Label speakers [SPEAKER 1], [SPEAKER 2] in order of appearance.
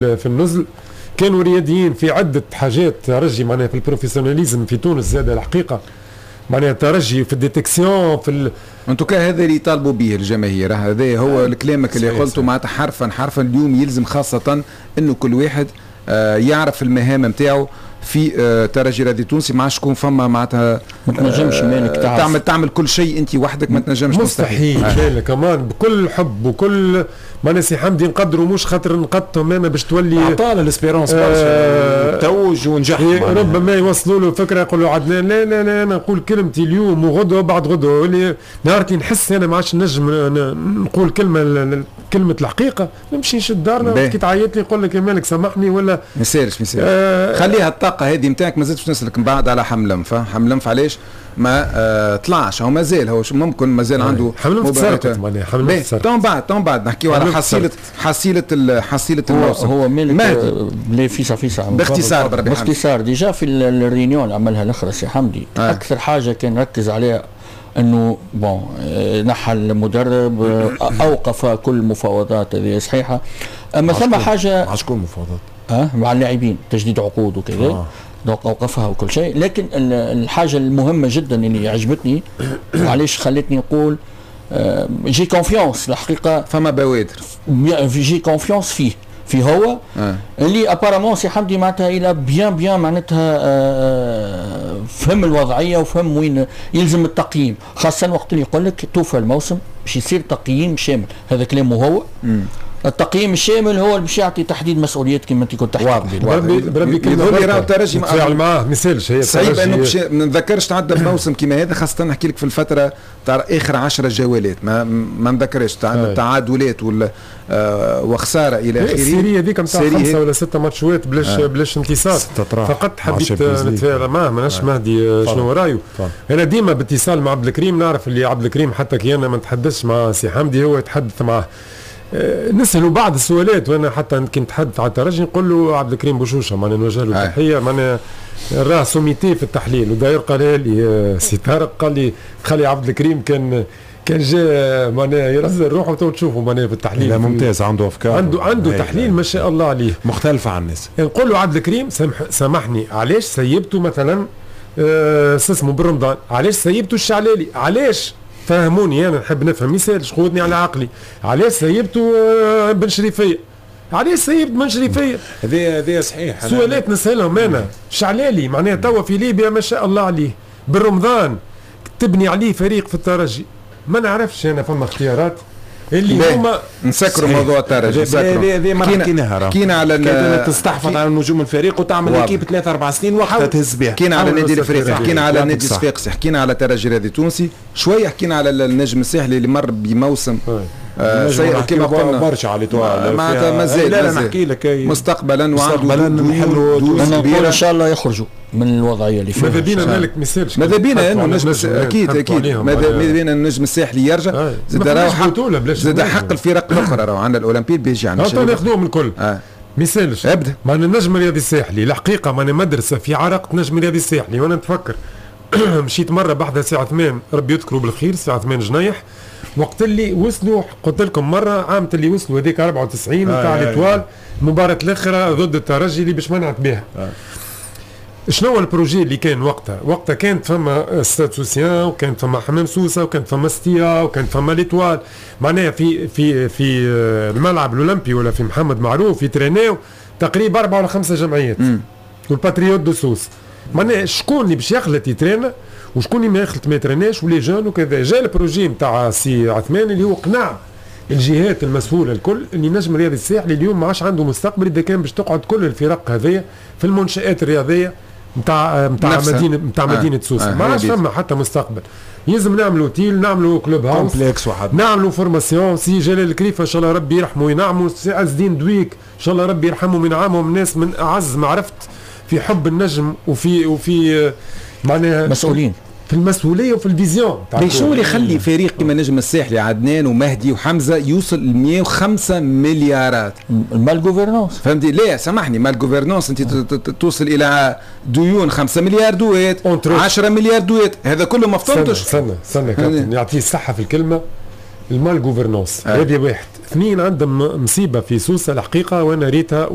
[SPEAKER 1] في النزل، كانوا رياديين في عده حاجات. ترجي معناها في ال professionnalisme في تونس زاد الحقيقة، معناها الترجي في ال détection في
[SPEAKER 2] en tout cas هذا اللي يطالبوا به الجماهير، هذا هو كلامك اللي قلته معناتها حرفا حرفا. اليوم يلزم خاصة انه كل واحد يعرف المهام نتاعو في ترجي رياضي تونسي، ما عادش تكون فما معناتها
[SPEAKER 3] ما تنجمش مالك
[SPEAKER 2] تعرف تعمل كل شيء انت وحدك، ما تنجمش.
[SPEAKER 1] مستحيل. مستحيل. كمان بكل حب وكل ما سي حمدي نقدروا، مش خاطر نقدتهم انا باش تولي
[SPEAKER 4] عطانا l'Espérance برشا توج ونجح.
[SPEAKER 1] ربما يوصلوا له فكرة يقولوا عدنان لا لا لا، انا نقول كلمتي اليوم وغدوه وبعد غدوه، اللي نهارتي نحس انا ما عادش نجم نقول كلمة الحقيقه، نمشي نشد دارنا. كي تعيط لي يقول لك يا مالك سامحني ولا
[SPEAKER 2] ما يسالش ما يسالش، خليها الطاقة هذه نتاعك. ما زلتش نسالك من بعد على حملنف. حملنف علاش ما طلعش؟ هو مازال، هو ممكن مازال عنده
[SPEAKER 1] حملنف تسرقت معناها.
[SPEAKER 2] حملنف تو بعد نحكيو على حصيله الموسم.
[SPEAKER 3] هو مالك بلا فيسع فيسع
[SPEAKER 2] باختصار.
[SPEAKER 3] بربي باختصار، déjà في ال réunion اللي عملها الاخرى سي حمدي اكثر حاجة كان ركز عليها انه bon نحى المدرب، اوقف كل المفاوضات، هذه صحيحه، اما ثم حاجه.
[SPEAKER 4] مع شكون مفاوضات؟
[SPEAKER 3] مع اللاعبين، تجديد عقود وكذا. Donc اوقفها وكل شيء، لكن الحاجة المهمة جدا اللي عجبتني وعلاش خلتني نقول j'ai confiance الحقيقه.
[SPEAKER 2] فما بوادر.
[SPEAKER 3] j'ai confiance فيه في هو اللي apparemment سي حمدي معناتها il a bien bien معناتها فهم الوضعية وفهم وين يلزم التقييم، خاصة وقت اللي يقول لك توفى الموسم باش يصير تقييم شامل، هذا كلامه هو. التقييم الشامل هو اللي باش يعطي تحديد مسؤوليات كما انت كنت تحكي.
[SPEAKER 2] واضح.
[SPEAKER 1] بربي بربي.
[SPEAKER 2] كلمة راهو الترجي
[SPEAKER 1] نتفاعل معاه ما يسالش.
[SPEAKER 2] هي صعيب انه باش ما نذكرش تعدى بموسم كيما هذا، خاصة نحكي لك في الفترة تاع اخر 10 جولات، ما نذكرش تعادلات ولا وخسارة الى اخره.
[SPEAKER 1] ال série هذيك نتاع 5 ولا 6 ماتشات بلاش بلاش انتصار. فقط حبيت نتفاعل معاه، ماناش مهدي شنو رايه. انا ديما باتصال مع عبد الكريم، نعرف اللي عبد الكريم حتى كي انا ما نتحدثش مع سي حمدي هو يتحدث معاه، نسأله بعض السؤالات، وانا حتى كي نتحدث على الترجي نقول له عبد الكريم بوشوشه، معناها نوجه له تحيه، معناها راه sommité في التحليل. وداير قال لي سي طارق، قال لي خلي عبد الكريم كان جاء معناها يرزل روحه تو تشوفوا معناها في التحليل.
[SPEAKER 4] لا ممتاز، عنده افكار.
[SPEAKER 1] عنده تحليل ما شاء الله عليه.
[SPEAKER 4] مختلفة عن الناس.
[SPEAKER 1] نقول له عبد الكريم سامحني، علاش سيبته مثلا اسمه بالرمضان، علاش سيبته الشعلالي، علاش؟ فهموني، انا نحب نفهم، يسالش خذني على عقلي، علاش سيبته بن شريفيه، علاش سيبت بن شريفيه؟
[SPEAKER 4] هذه صحيح.
[SPEAKER 1] سؤالات نسالهم انا. شعلالي معناها توا في ليبيا ما شاء الله عليه، بالرمضان تبني عليه فريق في الترجي، ما نعرفش انا فما اختيارات اللي هما
[SPEAKER 2] نسكروا موضوع الترجي.
[SPEAKER 4] هذه ما حكيناها.
[SPEAKER 2] حكينا على
[SPEAKER 4] تستحفظ على نجوم الفريق وتعمل équipe 3 4 سنين وقتها تهز بها.
[SPEAKER 2] حكينا على النادي الافريقي، حكينا على النادي الصفاقسي، حكينا على الترجي الرياضي التونسي، شوية حكينا على النجم الساحلي اللي مر بموسم
[SPEAKER 4] سيء كما قلنا. برشا على
[SPEAKER 2] l'Étoile. معناتها مازال
[SPEAKER 4] لا لا نحكي لك.
[SPEAKER 2] مستقبلا.
[SPEAKER 4] وعنده ديون
[SPEAKER 3] كبيره، ان شاء الله يخرجوا من الوضعية اللي فيها.
[SPEAKER 1] ماذا بينا مالك ما يسالش.
[SPEAKER 2] ماذا بينا انه النجم، اكيد اكيد، ماذا بينا النجم الساحلي يرجع زاد، راهو حق زاد حق الفرق الاخرى، راهو عندنا الاولمبي بيجي
[SPEAKER 1] عندنا ناخذوهم الكل. ما يسالش.
[SPEAKER 2] ابدا.
[SPEAKER 1] معناها النجم الرياضي الساحلي الحقيقة معناها مدرسه في عراقه النجم الرياضي الساحلي، وانا نتفكر مشيت مرة بحذا سي عثمان، ربي يذكره بالخير، سي عثمان جنيح، وقت اللي وصلوا، قلت لكم مرة عام اللي وصلوا هذيك 94 نتاع l'Étoile، المباراة الاخرى ضد الترجي اللي باش منعت بها. شنو هو ال projet اللي كان وقتها؟ وقتها كانت فما Stade Soussien وكانت فما حمام سوسة وكانت فما ستيا وكانت فما l'Étoile، معناها في الملعب الاولمبي ولا في محمد معروف يترينيو تقريبا 4 ولا 5 جمعيات وال Patriotes de Sousse. معناها شكون اللي باش يخلط يترينا وشكون اللي ما يخلط ما يتريناش و les jeunes وكذا. جا ال projet نتاع سي عثمان اللي هو قنع الجهات المسؤولة الكل اللي نجم الرياضي الساحلي اليوم ما عادش عنده مستقبل اذا كان باش تقعد كل الفرق هذيا في المنشات الرياضية نتاع مدينة نتاع مدينة سوسه. ما عادش فما حتى مستقبل، يلزم نعملوا اوتيل، نعملوا club house
[SPEAKER 4] complexe واحد.
[SPEAKER 1] نعملوا formation. سي جلال الكريفه ان شاء الله ربي يرحمه وينعمه، سي عز الدين دويك ان شاء الله ربي يرحمه وينعمهم، ناس من اعز ما عرفت في حب النجم وفي معناها
[SPEAKER 3] مسؤولين.
[SPEAKER 1] في المسؤولية وفي ال vision.
[SPEAKER 2] شنو اللي يخلي فريق كما نجم الساحلي، عدنان ومهدي وحمزه، يوصل ل 105 مليارات؟
[SPEAKER 3] ال male gouvernance.
[SPEAKER 2] فهمتي؟ لا سامحني، male gouvernance، انت توصل الى ديون 5 مليار دوات، 10 مليار دوات، هذا كله ما فطنتش.
[SPEAKER 1] استنى استنى كابتن، يعطيه الصحة في الكلمه. ال male gouvernance. هذه واحد. اثنين، عندهم مصيبة في سوسة الحقيقه، وانا ريتها.